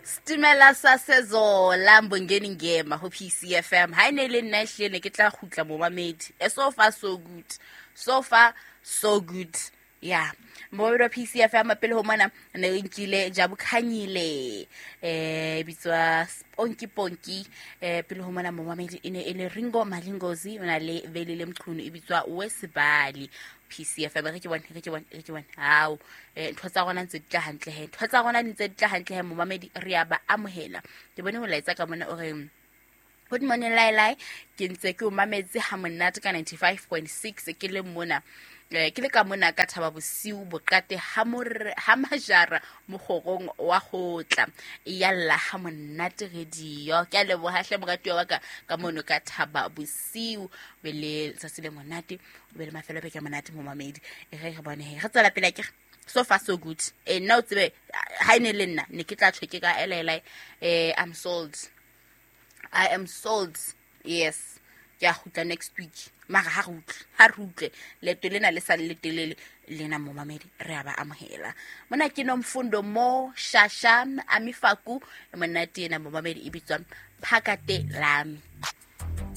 Stimela sa Sezola Mbongeni Ngema ho PCFM. Ha e ne e le nna ehlile ne ke tla kgutla momamedi. So far so good. So far so good. Ya momamedi wa PCFM, pele ho mona ne re nkile Jabu Khanyile, bitswa Sponky Ponky. Pele ho mona, momamedi, e ne e le Ringo Malingozi o na le Velile Mchunu, e bitswa Wesibali. PCFM, re ke bone, re ke bone, re ke bone. Hao, ntho tsa rona ntse di tla hantle he, ntho tsa rona di ntse di tla hantle he. Momamedi, re ya ba amohela. Ke bone molaetsa ka mona o re: "Good morning Lailai, ke ntse ke o mametse ha monate ka 95.6, ke le mona, ke le ka mona ka Thaba Bosiu, Boqate ha ha Majara, mokgorong wa kgotla. Yalla ha monate radio." Ke a leboha hle, moratuwa wa ka ka mono ka Thaba Bosiu. Be le letsatsi le monate, o be le mafelo a beke a monate, momamedi. E re re bone he, re tswela pele akere. So far so good. Nna o tsebe ha e ne le nna ne ke tla tjho ke ka elele. I'm sold, I am sold. Yes, ke a kgutla next week, mara ha re utlwe, ha re utlwe leeto lena le sa le letelele lena. Momamedi, re a ba amohela mona. Ke Nomfundo Mo Shasha Amifaku, monate ena, momamedi, e bitswang Phakate Lami.